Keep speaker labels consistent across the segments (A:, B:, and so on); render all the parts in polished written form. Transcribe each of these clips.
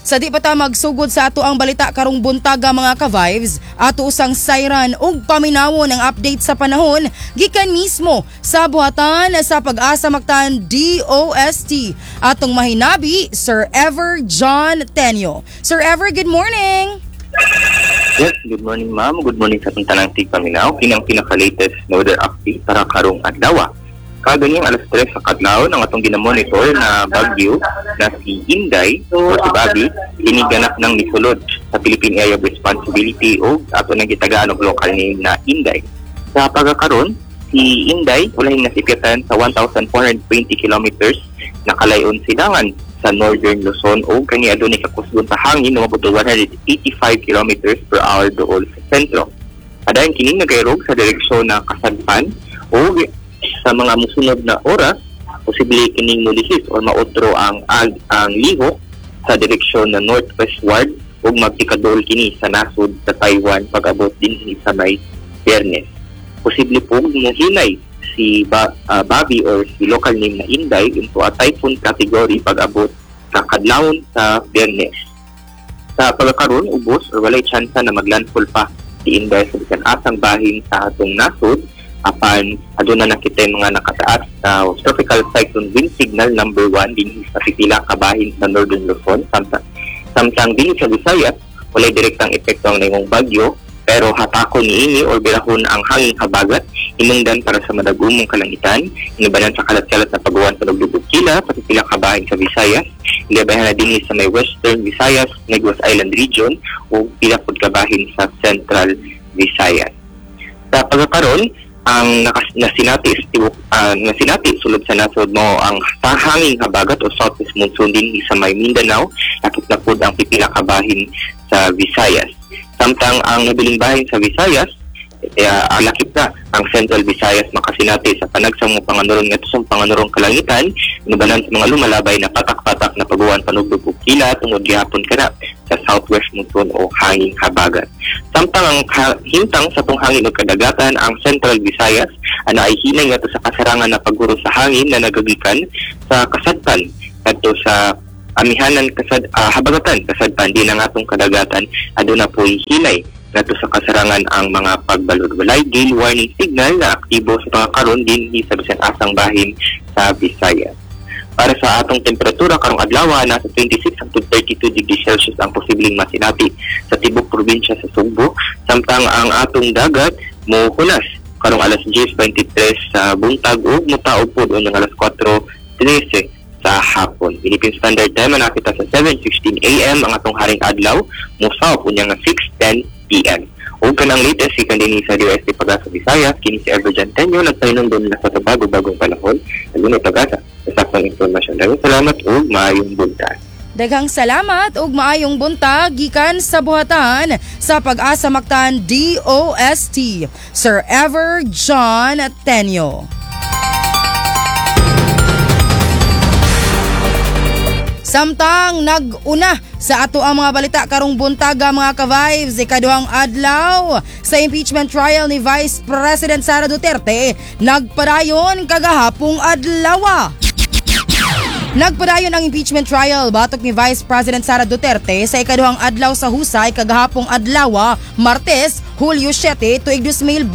A: Sa di pa ta magsugod sa ato ang balita karong buntaga, mga ka-vibes, ato usang sayran ug paminawon ang update sa panahon gikan mismo sa buhatan sa Pag-asa Mactan DOST. Atong mahinabi, Sir Ever John Tenio. Sir Ever, good morning!
B: Yes, good morning, ma'am. Good morning sa atong tanang tigpaminaw. Kini ang pinaka-latest na weather update para karong adlaw. Kaganyang alas 3 sa kadlawon, ang atong ginamonitor na bagyo na si Inday o si Babi, kini ganap ng misulod sa Philippine Area of Responsibility o ato nang gitagaan og local name na Inday. Sa pagkakaron, si Inday ulahing nasipyatan sa 1,420 kilometers nakalayon silangan sa Northern Luzon o kani adunay kakusgon sa hangin umabot og 185 kilometers per hour dool sa sentro. Padayon kining nagairog sa direksyon na kasadpan o sa mga musunod na oras posible kining mulihis or maotro ang lihok sa direksyon na northwestward ug magpikadool kini sa nasod sa Taiwan pag-abot dinhi sa may Biyernes. Posible po muhinay si Babi or si local name na Inday into a typhoon category pag-abot sa kadlawon sa Biyernes. Sa pagkakaroon, ubos or walay tsansa na maglandfall pa si Inday sa bisan asang bahin sa atong nasod, apan aduna na kita yung mga nakataas na tropical cyclone wind signal number 1 dinhi sa pipila ka bahin sa Northern Luzon. Samtang dinhi sa Visayas, walay direktang epekto ang naimong bagyo, pero hatakon niini or birahon ang hangin habagat hinungdan para sa madagumong kalangitan inubanan sa kalat-kalat na paguwan sa nagdugog kila sa pipila ka bahin sa Visayas, ilabahan na dinhi sa may Western Visayas, Negros Island region ug pila pud ka bahin sa Central Visayas. Sa pagkakaron, ang nasinati nasinati sulod sa nasod mo ang hanging habagat o southwest monsoon dinhi sa may Mindanao, lakip na pud ang pipila ka bahin sa Visayas. Samtang ang nabiling bahin sa Visayas, lakip na ang Central Visayas, makasinati sa panagsang mga panganurong ngadto sa panganurong kalangitan inubanan sa mga lumalabay na patak-patak na paguwan panugdog ug kila tungod gihapon kana sa southwest monsoon o hanging habagat. Samtang ang hintang sa tong hangin ug kadagatan, ang Central Visayas ana ay hinay ngadto sa kasarangan na pagguro sa hangin na nagagikan sa kasadpan ngadto sa amihanan habagatan kasadpan din ang atong kadagatan, aduna po'y hinay ngadto sa kasarangan ang mga pagbalod. Walay gale warning signal na aktibo sa pagkakaron dinhi sa bisan asang bahin sa Visayas. Para sa atong temperatura karong adlaw, nasa 26 hangtod 32 degrees Celsius ang posibleng masinati sa tibok probinsya sa Sugbo, samtang ang atong dagat mohulas karong alas 10:23 sa buntag ug motaob pod unyang alas 4:13 sa hapon. Philippine Standard Time nakita sa 7:16 AM ang atong haring adlaw mosaop unyang 6:10 PM. Ug kanang latest gikan dinhi sa DOST Pag-asa Visayas, kini si Ever John Tenio nagpahinumdom na sa bago-bagong panahon adunay pag-asa sa saktong impormasyon. Daghang salamat ug maayong buntag.
A: Daghang salamat ug maayong buntag gikan sa buhatan sa Pag-asa Mactan DOST, Sir Ever John Tenio. Samtang nag-una sa ato ang mga balita karong buntaga, mga ka-vibes, ikaduhang adlaw sa impeachment trial ni Vice President Sara Duterte nagpadayon kagahapong adlaw. Nagpadayon ang impeachment trial batok ni Vice President Sara Duterte sa ikaduhang adlaw sa husay kagahapong adlaw, Martes, Hulyo 7, tuig 2026.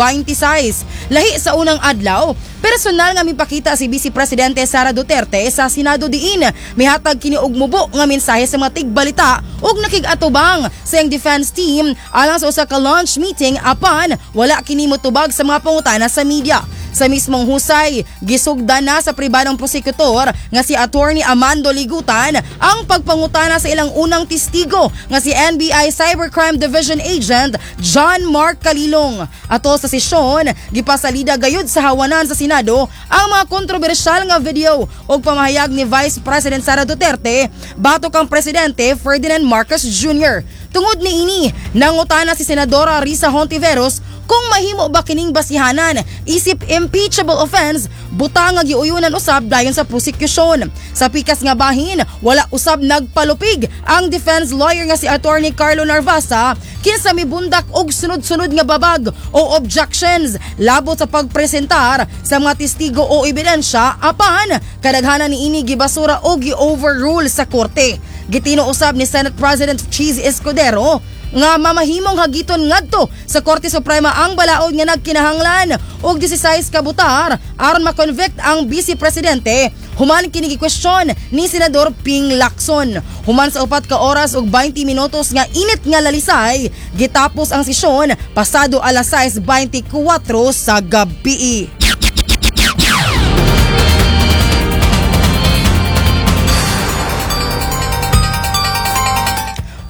A: Lahi sa unang adlaw, personal nga mipakita si Vice Presidente Sara Duterte sa Senado diin mihatag kini og mubo nga mensahe sa mga tigbalita ug nakig-atubang sa iyang defense team alang sa usa ka launch meeting, apan wala kini motubag sa mga pangutana sa media. Sa mismong husay, gisugdan na sa pribadong prosekutor nga si Attorney Amando Ligutan ang pagpangutana sa ilang unang testigo nga si NBI Cybercrime Division Agent John Mark Kalilong. Ato sa sesyon, gipasalida gayud sa hawanan sa Senado ang mga kontrobersyal nga video ug pamahayag ni Vice President Sara Duterte batok ang Presidente Ferdinand Marcos Jr. Tungod niini, nangutana si Senadora Risa Hontiveros kung mahimo ba kining basihanan isip impeachable offense butang nga giuyunan usab dayon sa prosecution. Sa pikas nga bahin, wala usab nagpalupig ang defense lawyer nga si Attorney Carlo Narvasa kinsa mibundak og sunod-sunod nga babag o objections labot sa pagpresentar sa mga testigo o ebidensya, apan kadaghanan niini gibasura o gi-overrule sa korte. Gitino usab ni Senate President Chiz Escudero nga mamahimong hagiton ngadto sa Korte Suprema ang balaod nga nagkinahanglan og 16 ka butar aron ma-convict ang Vice Presidente human kini gikwestiyon ni Senador Ping Lacson. Human sa 4 ka oras ug 20 minutos nga init nga lalisay, gitapos ang sesyon pasado alas 6:24 sa gabi.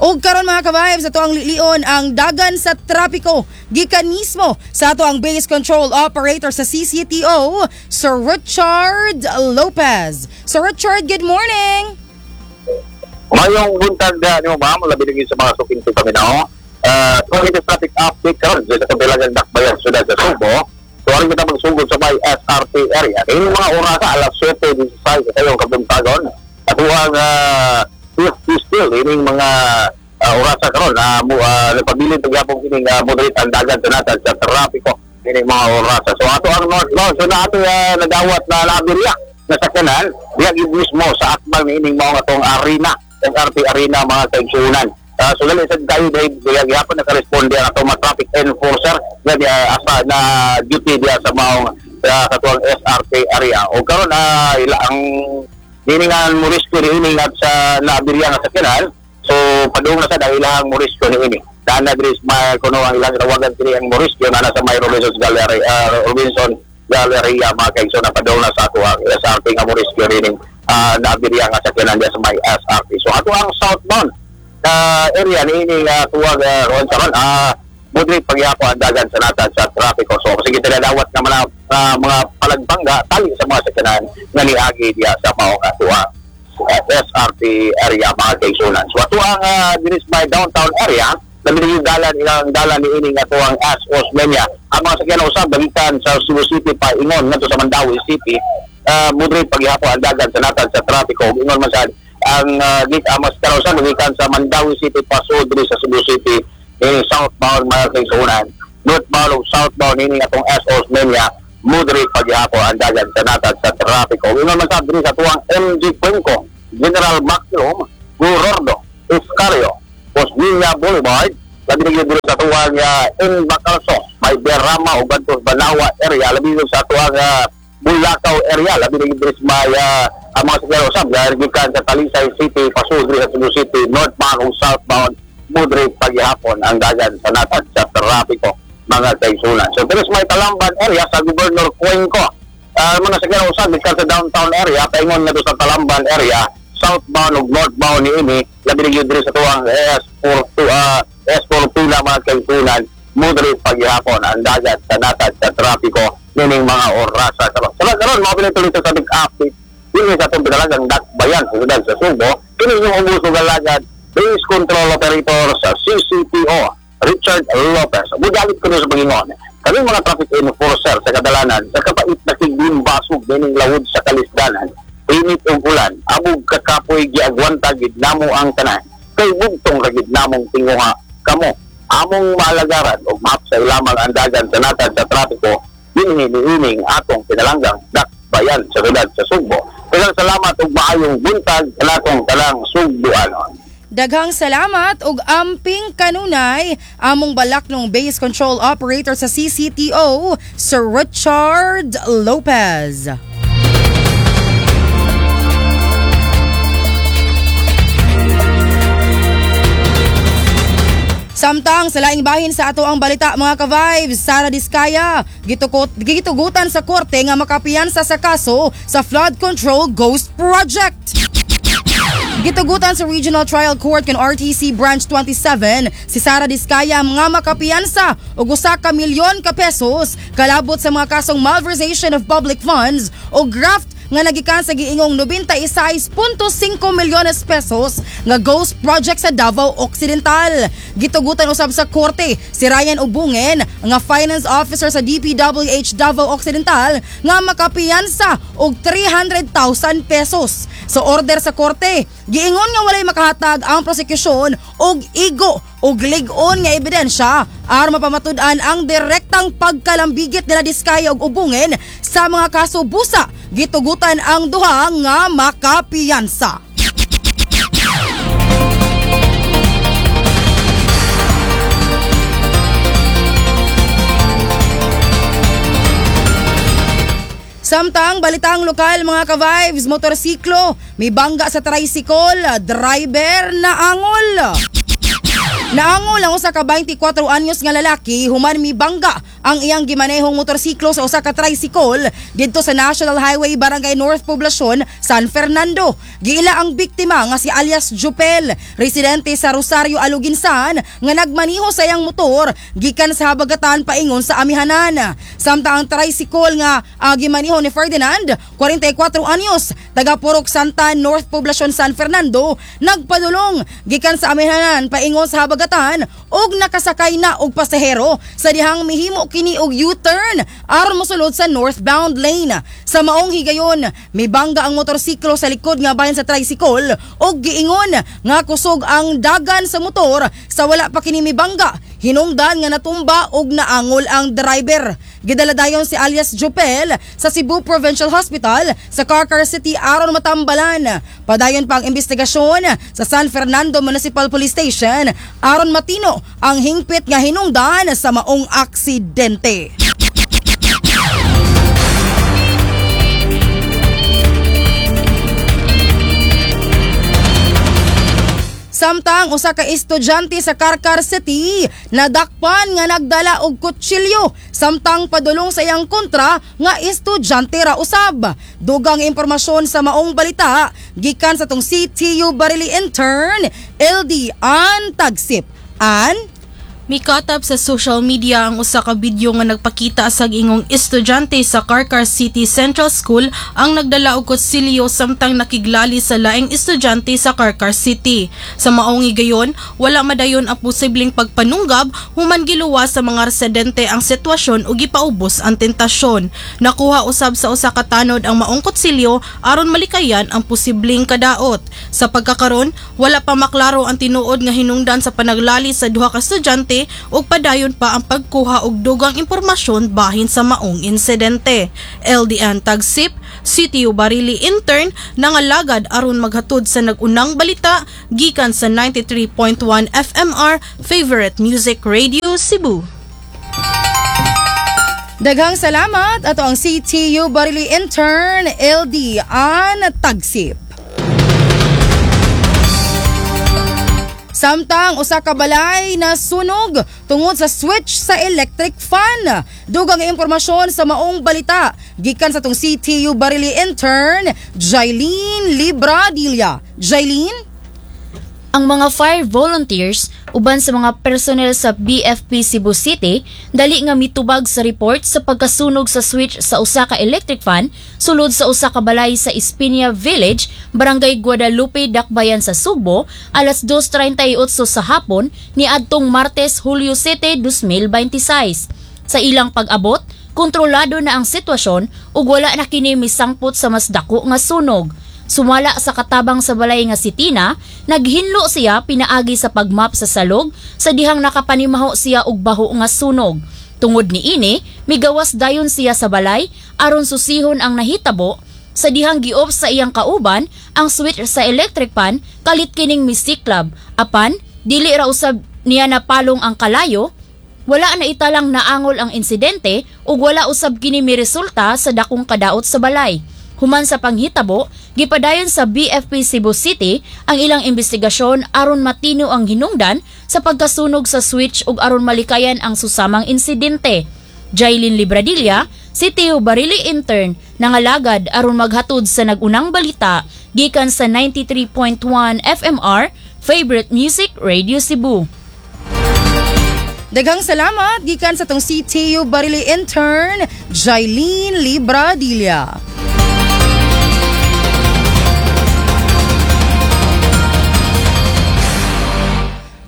A: Og karon mga ka-vibes, ato ang lilion ang dagan sa trapiko gikan mismo sa ato ang base control operator sa CCTO, Sir Richard Lopez. Sir Richard, good morning!
B: Mayong buntag nimo ma'am, labi lagi sa mga suking paminaw. So latest traffic update karon sa kabilangan Dakbayan syudad sa Subo. So aron kita magsugod sa may SRT area. Kini mga orasa alas 7:16 sa kayong kabuntagon. Atuang still ining mga orasa karon nagpabilin pagyapon kining moderate ang dagan sa natad sa trapiko kining mga orasa. So ato ang northbound, so na ato nadawat na naabilya na sakyanan diya gyud mismo sa akbang niining mao atong arena, SRT Arena mga kaigsuonan. So dali sad kayo dahil diya gihapon nakaresponde ang atong mga traffic enforcer nga diya asa na duty diya sa maong katuang SRT area. O karon ila ang niningan Morisco niini at sa naabilya nga sakyanan. So padung na sa dahil ilahang Morisco niini. Daan na diri may kuno ang ilang tawagan kini ang Morisco na nasa may Robinson Gallery, Robinson Galleria mga kaigsoon na padung na sa ato ang SRT nga Morisco niini naabilya nga sakyanan diya sa may SRT. So ato ang southbound area niini tuwag ron sa ron moderate pagyapon ang dagan sa natad sa trapiko. So sige tinadawat nga mga palagbangga tali sa mga sakyanan nga niagi diya sa maong atuang SRT area mga kaigsuonan. So ato ang diri sa may downtown area, labi na yung dalan ilang dalan niini nga atuang S. Osmeña. Ang mga sakyanan usab gikan sa Cebu City pa ingon ngadto sa Mandaue City, moderate pagyapon ang dagan sa natad sa trapiko. Ug ingon man sad ang ang mga sakyanan usab gikan sa Mandaue City pasod diri sa Cebu City southbound mga kaigsuonan. Northbound o southbound ini atong S. Osmeña, moderate pagyapon ang dagan sa natad sa trapiko. Ingon man sad diri sa tuwang MG Cuenco, General Maximum, Gorordo, Escario, Osmeña Boulevard, labi na diri sa tuwang Bacalso, may Berama o Bantos Banawa area, labi na sa tuwang Bulacau area, labi na diri sa may ang mga sakyanan usab gikan sa Talisay City pasud diri sa Cebu City, northbound o southbound, moderate paghihapon ang dagan sa natad sa trapiko mga kaigsuonan. So diri sa may Talamban area sa Governor Cuenco, mga sakyanan usab gikan sa downtown area paingon ngadto sa Talamban area, southbound ug northbound niini, labi na gyud diri sa tuwang S42 S42 na mga kaigsuonan, moderate paghihapon ang dagat sa natad sa trapiko nining mga orasa karon. So karon mao pinatuloy sa traffic update dinhi sa atong pinalagang Dakbayan sa syudad sa Subo. Kini inyong ubos ug alagad, base control operator sa CCTO, Richard Lopez. Mugalit ko sa Panginoon. Kami mga traffic enforcer sa kadalanan, sa kapait na kiglimbasog nining lawod sa kalisdanan, init ug ulan, abog kakapoy giagwanta gid namo ang tanan. Kay bugtong ra gid namong tinguha kamo. Among maalagaran og mahapsay lamang ang dagan sa natad sa trapiko dinhi niining atong pinalanggang Dakbayan sa syudad sa Sugbo. Daghang salamat ug maayong buntag kanatong talang Sugboanon.
A: Daghang salamat ug amping kanunay among balaknong base control operator sa CCTO, Sir Richard Lopez. Samtang sa laing bahin sa ato ang balita mga ka-vibes, Sara Diskaya gitugutan sa korte nga makapiyansa sa kaso sa flood control ghost project. Gitugutan sa Regional Trial Court kan RTC Branch 27 si Sara Diskaya nga makapiyansa og usa ka milyon ka pesos kalabot sa mga kasong malversation of public funds o graft nga nagikan sa giingong 96.5 milyones pesos nga ghost project sa Davao Occidental. Gitugutan usab sa korte si Ryan Ubungen nga finance officer sa DPWH Davao Occidental nga makapiyansa og 300,000 pesos. Sa order sa korte, giingon nga walay makahatag ang prosekusyon og igo og lig-on nga ebidensya aron mapamatud-an ang direktang pagkalambigit nila Diskaya og Ubungen sa mga kaso busa. Gitugutan ang duha nga makapiyansa. Samtang balitang lokal, mga ka-vibes, motorsiklo mibangga sa tricycle, driver naangol. Naangol ang usa ka 24 anyos nga lalaki human mibangga ang iyang gimanehong motorsiklo sa usa ka tricycle didto sa National Highway, Barangay North Poblacion, San Fernando. Giila ang biktima nga si alias Jupel, residente sa Rosario, Aluginsan, nga nagmaniho sa iyang motor gikan sa Habagatan paingon sa Amihanan. Samtang ang tricycle nga gimaniho ni Ferdinand, 44 anyos, taga Purok Santa, North Poblacion, San Fernando, nagpadulong gikan sa Amihanan paingon sa Habagatan og nakasakay na og pasahero sa dihang mihimo kini og U-turn aron mosulod sa northbound lane. Sa maong higayon, mibangga ang motorsiklo sa likod nga bahin sa tricycle og giingon nga kusog ang dagan sa motor sa wala pa kini mibangga. Hinungdan nga natumba og naangol ang driver. Gidala dayon si alias Jopel sa Cebu Provincial Hospital sa Carcar City aron matambalan. Padayon pa ang investigasyon sa San Fernando Municipal Police Station aron matino ang hingpit nga hinungdan sa maong aksidente. Samtang usa ka estudyante sa Carcar City nadakpan nga nagdala og kutsilyo samtang padulong sa iyang kontra nga estudyante ra usab. Dugang impormasyon sa maong balita gikan sa tong CTU Barili intern LD Ann Tagsip. Ann?
C: Mikatap sa social media ang usa ka video nga nagpakita sa ingong estudyante sa Carcar City Central School ang nagdala og kutsilyo samtang nakiglali sa laing estudyante sa Carcar City. Sa maong higayon, wala madayon ang posibleng pagpanunggab human giluwas sa mga residente ang sitwasyon ug gipaubos ang tentasyon. Nakuha usab sa usa ka tanod ang maong kutsilyo aron malikayan ang posibleng kadaot. Sa pagkakaron, wala pa maklaro ang tinuod nga hinungdan sa panaglali sa duha ka estudyante ug padayon pa ang pagkuha og dugang impormasyon bahin sa maong insidente. LDN Tagsip, CTU Barili intern, nangalagad aron maghatod sa nag-unang balita gikan sa 93.1 FMR Favorite Music Radio Cebu.
A: Daghang salamat, ato ang CTU Barili intern LD Ann Tagsip. Samtang usa ka balay na sunog tungod sa switch sa electric fan. Dugang impormasyon sa maong balita gikan sa tong CTU Barili intern Jailene Libradilla. Jailene?
D: Ang mga fire volunteers uban sa mga personnel sa BFP Cebu City dali nga mitubag sa report sa pagkasunog sa switch sa usa ka electric fan sulod sa usa ka balay sa Espinia Village, Barangay Guadalupe, Dakbayan sa Sugbo alas 2:38 sa hapon niadtong Martes, Hulyo 7, 2026. Sa ilang pag-abot, kontrolado na ang sitwasyon ug wala na kini misangpot sa mas dako nga sunog. Sumala sa katabang sa balay nga si Tina, naghinlo siya pinaagi sa pagmap sa salog sa dihang nakapanimaho siya og baho nga sunog. Tungod niini, migawas dayon siya sa balay aron susihon ang nahitabo sa dihang giop sa iyang kauban ang switch sa electric fan kalit kining misiklab. Apan, dili ra usab niya napalong ang kalayo. Wala na italang naangol ang insidente ug wala usab kini miresulta sa dakong kadaot sa balay. Human sa panghitabo, gipadayon sa BFP Cebu City ang ilang investigasyon aron matino ang hinungdan sa pagkasunog sa switch ug aron malikayan ang susamang insidente. Jailene Libradilla, CTU Barili intern, nangalagad aron maghatod sa nag-unang balita gikan sa 93.1 FMR Favorite Music Radio Cebu.
A: Daghang salamat gikan sa tong CTU Barili intern Jailene Libradilla.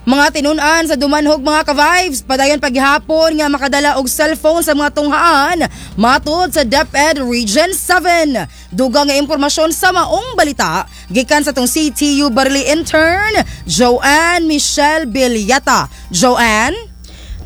A: Mga tinun-an sa Dumanhog, mga ka-vibes, padayon paghihapon nga makadala og cellphone sa mga tunghaan matud sa DepEd Region 7. Dugang nga impormasyon sa maong balita gikan sa tong CTU Barili intern Joanne Michelle Bilyata. Joanne?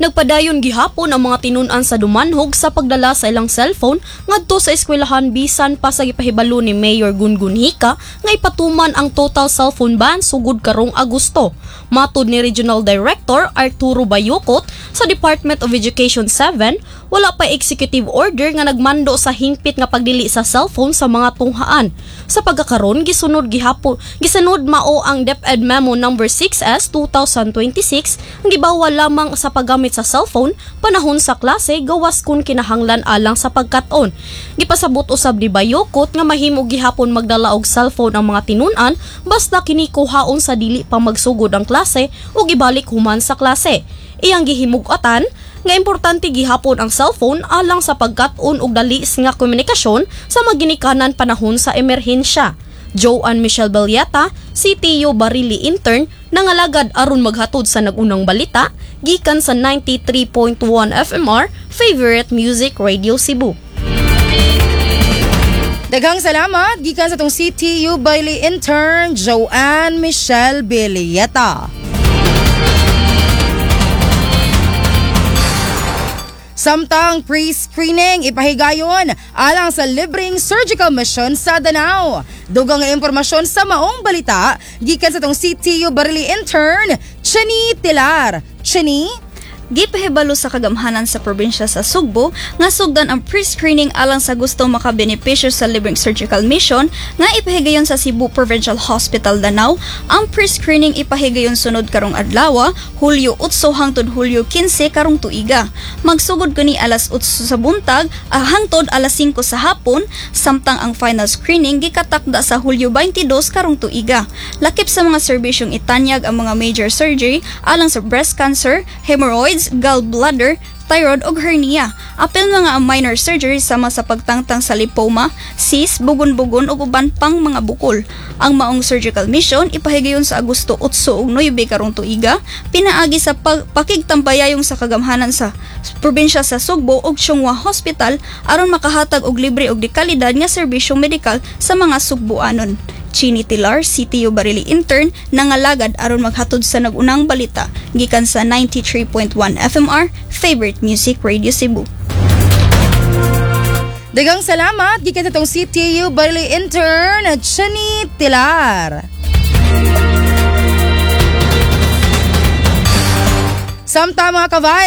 E: Nagpadayon gihapon ang mga tinun-an sa Dumanhog sa pagdala sa ilang cellphone ngadto sa eskwelahan bisan pa sa gipahibalo ni Mayor Gungun Hika nga ipatuman ang total cellphone ban sugod karong Agosto. Matod ni Regional Director Arturo Bayukot sa Department of Education 7, wala pa executive order nga nagmando sa hingpit nga pagdili sa cellphone sa mga tunghaan. Sa pagkakaron, gisunod gihapon gisunod mao ang DepEd Memo number 6S 2026 ang gibawal lamang sa paggamit sa cellphone panahon sa klase, gawas kun kinahanglan alang sa pagkat-on. Gipasabot usab ni Bayokot nga mahimo gihapon magdala og cellphone ang mga tinun-an basta kini kuhaon sa dili pa magsugod ang klase ug ibalik human sa klase. Iyang gihimug-atan nga importante gihapon ang cellphone alang sa pagkat-on og dali nga komunikasyon sa maginikanan panahon sa emerhensya. Joanne Michelle Balieta, CTU Barili intern, nangalagad aron maghatod sa nag-unang balita gikan sa 93.1 FMR Favorite Music Radio Cebu.
A: Daghang salamat gikan sa atong CTU Barili intern, Joanne Michelle Belieta. Samtang pre-screening ipahigayon alang sa libreng surgical mission sa Danao. Dugang nga impormasyon sa maong balita gikan sa atong CTU Barili intern, Chini Tilar. Chini?
F: Gipahibalo sa kagamhanan sa probinsya sa Sugbo nga sugdan ang pre-screening alang sa gusto makabenepisyo sa libreng surgical mission nga ipahigayon sa Cebu Provincial Hospital Danao. Ang pre-screening ipahigayon sunod karong adlaw, Hulyo 8 hangtod Hulyo 15 karong tuiga. Magsugod kini alas 8 sa buntag hangtod alas 5 sa hapon, samtang ang final screening gikatakda sa Hulyo 22 karong tuiga. Lakip sa mga serbisyong itanyag ang mga major surgery alang sa breast cancer, hemorrhoids, gallbladder, thyroid ug hernia. Apil mga ang minor surgery sama sa pagtangtang sa lipoma, cyst, bugon-bugon ug uban pang mga bukol. Ang maong surgical mission ipahigayon sa Agosto 8 ug 9 karong tuiga, pinaagi sa pakigtambayayong sa kagamhanan sa probinsya sa Sugbo ug Chong Hua Hospital aron makahatag og libre ug dekalidad nga serbisyong medikal sa mga Sugboanon. Chini Tilar, CTU Barili intern, nangalagad aron maghatod sa nag-unang balita gikan sa 93.1 FMR Favorite Music Radio Cebu.
A: Daghang salamat gikan sa atong CTU Barili intern, Chini Tilar. Samtang, mga ka